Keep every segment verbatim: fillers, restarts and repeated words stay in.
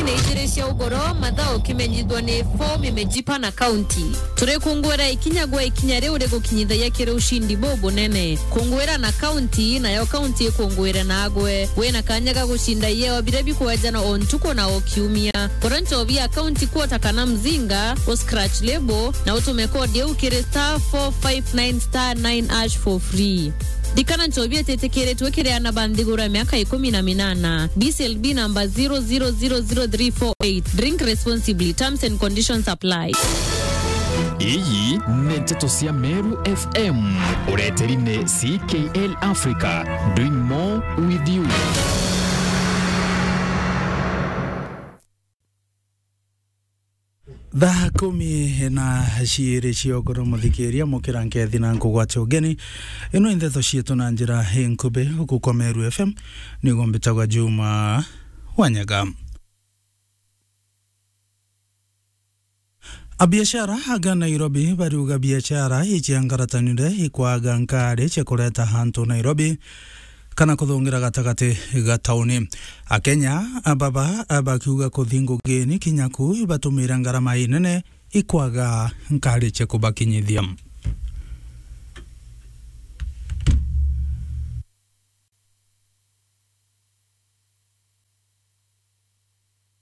na ijiri cia ugoro, mathaa ukimenyithwa ni fomu imejipa na kaunti. Turikungwira ikinya gwa ikinya riu rigukinyithagia kiri ushindi bubunene. Kungwira na kaunti, nayo kaunti ikungwire nagwe. Wina kanya ga gucinda ieo biria bikwejana o ntuku na o kiumia. Kura nchobi ya kaunti kwota kana mzinga, u scratch label, na utume kodi iu kiri star four five nine star nine hash for free. Ndikana nchobi ititikiritwe kiri ana ba nthiguru ya miaka ikumi na minana. B C L B number zero zero zero zero three four eight. Drink responsibly. Terms and conditions apply. Iyi ni nteto cia Meru F M. Ureteri ni C K L Africa. Doing more with you. Thaa kumi na ciiri cia ugoro, muthikiria, mukira nkethi na nkugwate ugeni. Ino i ndeto cietu na njira inkubi, guku kwa Meru F M, niguo mbitagwa Juma Wanyaga. Abiashara aga Nairobi bariuga biashara iciangaratanire ikwaga nkari cia kureta antu Nairobi kana kuthungira gatagati ga tauni. Akenya baba bakiuga kuthi ngugini kinya ku ibatumire ngarama inene ikwaga nkari cia kubakinyithia.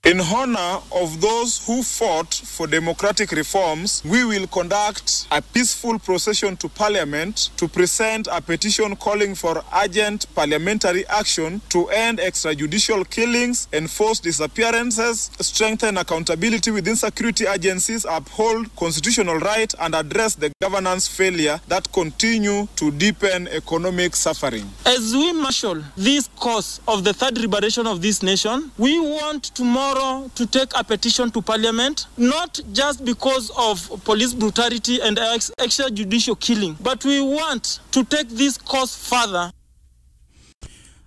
In honor of those who fought for democratic reforms, we will conduct a peaceful procession to Parliament to present a petition calling for urgent parliamentary action to end extrajudicial killings, enforce disappearances, strengthen accountability within security agencies, uphold constitutional right, and address the governance failure that continue to deepen economic suffering. As we marshal this cause of the third liberation of this nation, we want tomorrow to take a petition to Parliament, not just because of police brutality and ex-, extrajudicial killing, but we want to take this cause further.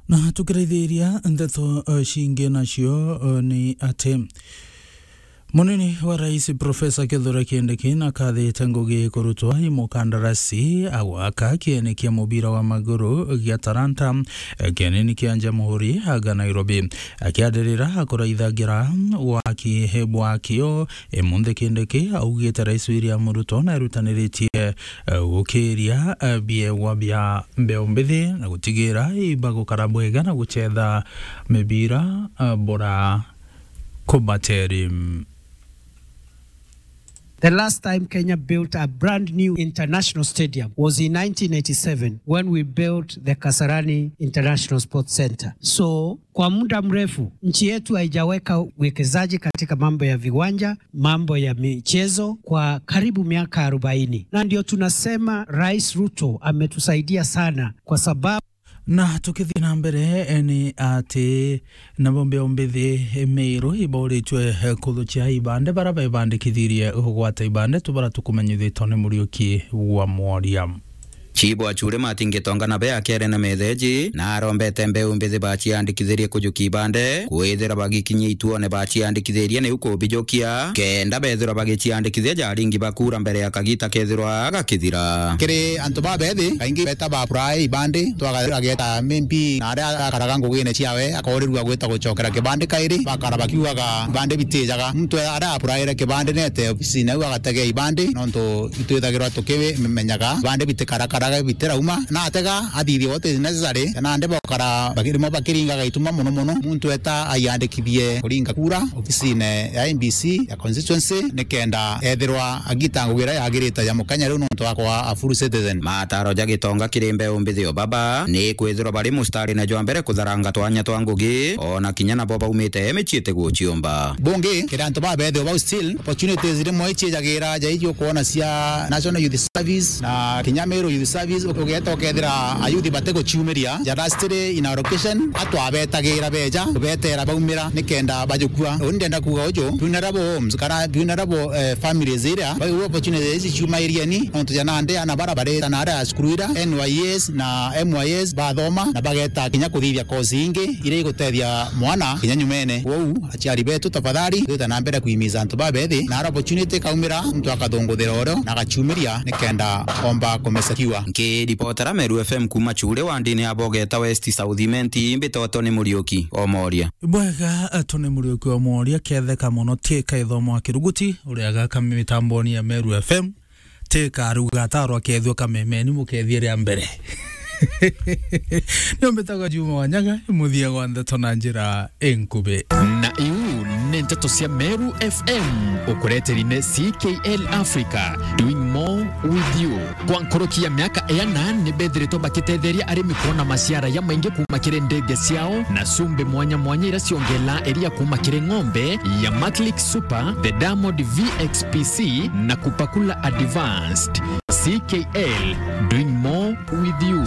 Na tukiraithiria ndeto, eh, cingi nacio, eh, ni ati munini wa rais Professor Kithure Kindiki nakathite ngugi kurutwa i mukandarasi agwaka kieni kia mubira wa maguru gia Talanta, eh, kienini kia Jamhuri aga Nairobi. Akiandirira akuraithagira waki bwakio, eh, munthi Kindiki augite rais William Ruto naerutaniritie, eh, gukiria, eh, biegwa bia mbeu mbithi na gutigira ibagukara bwega na gucetha mibira, ah, bora kubateri. The last time Kenya built a brand new international stadium was in nineteen eighty-seven when we built the Kasarani International Sports Centre. So, kwa muda mrefu, nchi yetu haijaweka uwekezaji katika mambo ya viwanja, mambo ya michezo kwa karibu miaka arobaini. Na ndio tunasema Rais Ruto ametusaidia sana kwa sababu Na tukithii na mbere, eh, ni ati nabo mbeu mbithi, eh, Meru ibauritwe, eh, kuthukia ibande bara bebandikithirie kugwata ibande tu bara tukumenyithitwe ni Muriuki wa Mworia. Chibu Achure Martin Gitonga nabe akiaria na metheji na arombete mbeu mbithi baciandikithirie kujukia ibande, kwithira bagikinyia ituone baciandikithirie niu kubijukia, kenda bethirwa bagiciandikithia jaringi bakura mbere ya kagita kethirwa gakithira. Kiri antu babethi, kaingi beta ba apply ibandi, twageta maybe na aria akaraga ngugine ciawe, akoorirua gwita gucokera kibandi kairi, bakara bakiugaga ibandi bitijaga. Muntu aria applyire kibandi nete obisine au agategea ibandi, nontu itwithagirwa tukimenyaga ibandi bitikarakaraga bitirauma, na atega athithia what is necessary, kana ande bokara bakirimo bakiringaga ituma mono mono, muntu eta aiandikithie kuringa kura obisine ya M B C ya constituency, nikenda ethirwa agita ngugi iria yagirite ya mukenya riu nontu akwa a full citizen. Mataro ja Gitonga kiri mbeu mbithi o baba ni kwithirwa bari mustarine jwa mbere kutharanga twanya twa ngugi, ona kinya nabo baumite micii iti guciumba. Bungi, kiri antu babethi o bau still, opportunities rimwe icijagira ja iji ukwona cia National Youth Service na kinya Meru Youth Service, ugeta ukethira ayuthi batiguciumiria ja lastly in allocation, atwabetagira beja, kubetera baumira nikenda bajukua. Uni ndenda kuuga uju, vulnerable homes, kana vulnerable, eh, families iria, bau opportunities ici ciuma iriani, nontu ja nandi ana bara bareta na aria cukuru ira, N Y S na M Y S bathoma, na bageta kinya kuthithia course ingi iria igutethia mwana kinya nyumene. Kwou, aciari betu, tafadhali, twita na mbere kuimiza antu babethi, na ara opportunity ikaumira, muntu akathunguthira urio na agaciumiria nikenda omba kumesecure. Nkiripotera Meru F M kuma Chure wandini ya Bogeta West South Imenti, mbitwa Tony Muriuki Omoria. Bwega, Tony Muriuki Omoria, ketheka mono, tiika ithomo wa Kiruguti, uria agaka mitamboni ya Meru F M, tiika aruga atarwa kethua kamemeni mukethie ria mbere. Nio mbitagwa Juma Wanyaga, muthia gwa ndeto na njira inkubi. Na iu ni nteto cia Meru F M, ukureteri ni C K L Africa, doing more with you. Kwa nkuruki ya miaka iana, ni bethiritwe bakitetheria arimi kwona maciara ya maingi kuma kiri ndege ciao na cumbi mwanya mwanya iria ciongelaa iria kuma kiri ng'ombe ya Maclick Super, the Diamond V X P C na Kupakula Advanced. C K L, doing more with you.